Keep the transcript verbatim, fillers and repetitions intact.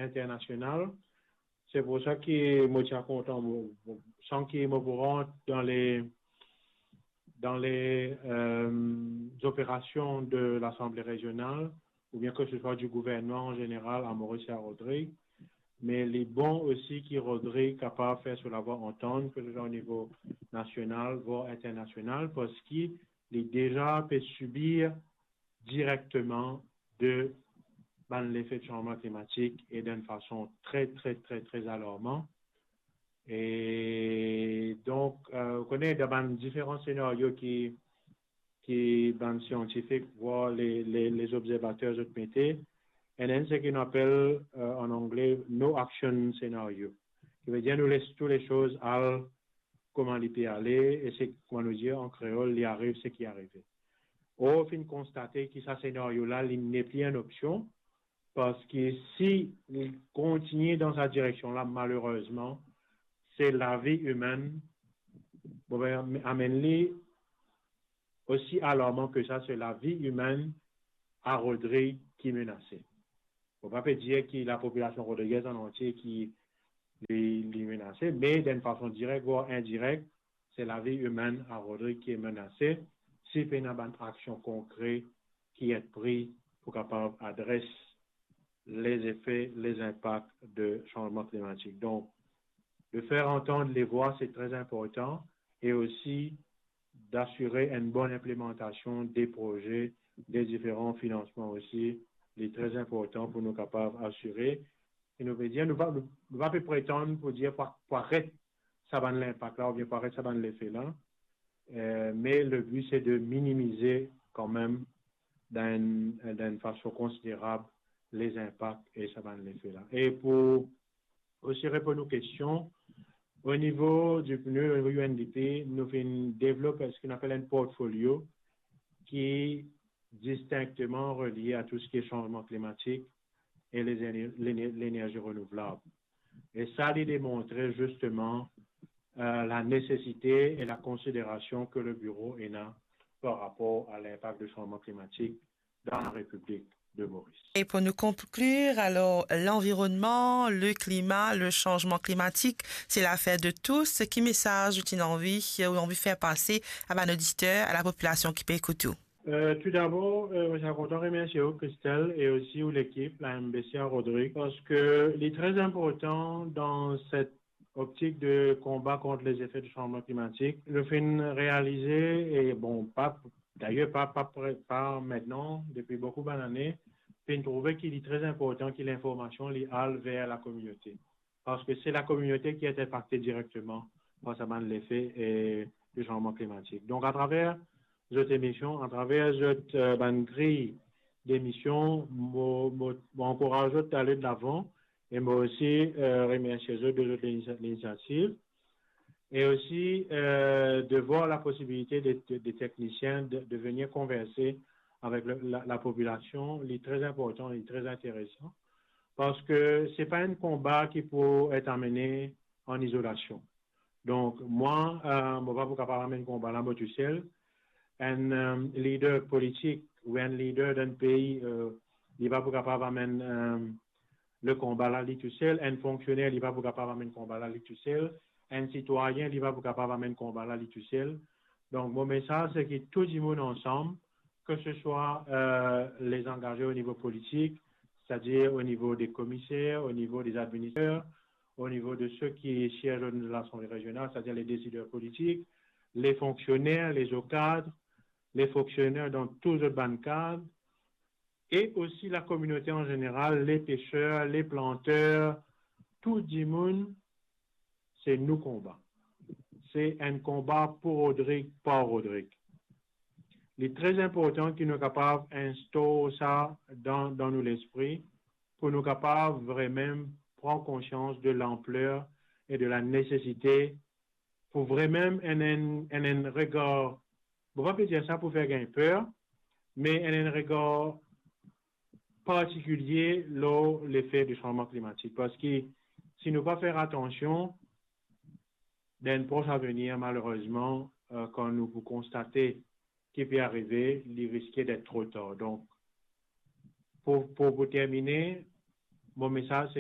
internasional. Se pou sa ki mo ti a kontan, mo, mo, san ki mo pou rant dan le, dan le, euh, operasion de Lasanble Rezional, oubien ke se swa di gouvernman an zeneral a Moris e a Rodrig, me li bon osi ki Rodrig kapav fer so lavwa antann, ke se swa o nivo nasional, vwar internasional, parski li deza pe sibir direkteman de bann lefe de sanzman klimatik e dan enn fason tre, tre, tre, tre alarman. E donk, euh, ou kone, dan bann diferan senario ki, ki bann siantifik, vwar le, le, lezobzervater zot mete, enn, enn seki nou apel, euh, an angle, no action scenario. Ki vedir nou les tou le soz al kouma li pe ale, e se, kouma nou dir an kreol, li ariv seki arive. Or, finn konstate ki sa senario la, li nepli enn opsion, parski si li kontigne dan sa direksion la, malerezman, se lavi imenn, bon, be, amenn li osi alarman ke sa, se lavi imenn a Rodrig ki menase. Mo pa pe dir ki lapopilasion rodrigez an antie ki li, li menase, me dan enn fason direk vwar indirek, se lavi imenn a Rodrig ki menase, si pena bann aksion konkre ki et pri pou kapav adres lezefe, lezinpak de sanzman klimatik. Donk, de fer antann le vwa, se tre inportan, e osi d'asire enn bon inplimantasion de proze, de diferan finansman osi, li tre inportan pou nou kapav asire. E nou pe dir, nou pa, nou, nou pa pe pretann pou dir pou, pou aret sa bann linpak la, oubien pou aret sa bann lefe la. Euh, me le bi, se de minimize kanmem dan enn, dan enn fason konsiderab lezinpak e sa bann lefe la. E pou osi reponn ou kestion, o nivo di pneu, o nivo U N D P, nou finn devlop seki nou apel enn portfolio ki distinkteman relie a tou seki sanzman klimatik e les éner-, l'éner-, lenerzi renouvlab. E sa, li demontre zisteman, euh, la nesesite e la konsiderasion ke le biro ena par rapor a linpak de sanzman klimatik dan la Repiblik de Moris. E pou nou konklir, alor, lanvironnman, le klima, le sanzman klimatik, se lafer de tous. Ki mesaz ou ti anvi, ou anvi fer pase a bann oditer, a lapopilasion ki pe ekout ou? Euh, toudabor, euh, mo ti a kontan remersie ou, Christelle, e osi ou lekip, la M B C a Rodrig, parski li tre inportan dan set optik de konba kont lezefe de sanzman klimatik. Nou finn realize, e bon, pa, dayer pa, pa pre-, pa mintnan, depi boukou bann ane, finn trouve ki li tre inportan ki linformasion li al ver lakominote. Parski se lakominote ki et inpakte direkteman par sa bann lefe, e, de sanzman klimatik. Donk, atraver zot emision, atraver zot, euh, bann griy demision, mo, mo, mo ankouraz zot ale de lavan e mo osi, euh, remersie zot de zot linitia-, linisiativ. E osi, euh, de vwar la posibilite de, de, de teknisien de, de venir konverse avek le, la, lapopilasion, li tre inportan, li tre interesan, parski se pa enn konba ki pou et amene an izolasion. Donk, mwa, euh, mo pa pou kapav amenn konba la mo tousel. Enn, euh, lider politik ou enn lider dan enn pei, euh, li pa pou kapav amenn, euh, le konba la li tousel. Enn fonksioner, li pa pou kapav amenn konba la li tousel. Enn sitwayin, li pa pou kapav amenn konba la li tousel. Donk, mo mesaz, se ki tou dimoun ansam, ke se swa, euh, les angaze o nivo politik, setadir o nivo de komiser, o nivo de administrater, o nivo de seki siez dan Lasanble Rezional, setadir le desider politik, le fonksioner, le zo kad, le fonksioner dan tou zot bann kad, e osi lakominote an zeneral, le peser, le planter, tou dimoun, se nou konba. Se enn konba pou Rodrig, par Rodrig. Li tre inportan ki nou kapav instor sa dan, dan nou lespri, pou nou kapav vremem pran konsians de lanpler e de la nesesite pou vremem enn, enn, enn, enn regar, mo pa pe dir sa pou fer gagn per, me enn, enn regar partikilie lor lefe de sanzman klimatik. Parski si nou pa fer atansion, dan enn pros avenir, malerezman, euh, kan nou pou konstate ki pe arive, li riske d'et tro tar. Donk, pou, pou, pou termine, mo mesaz se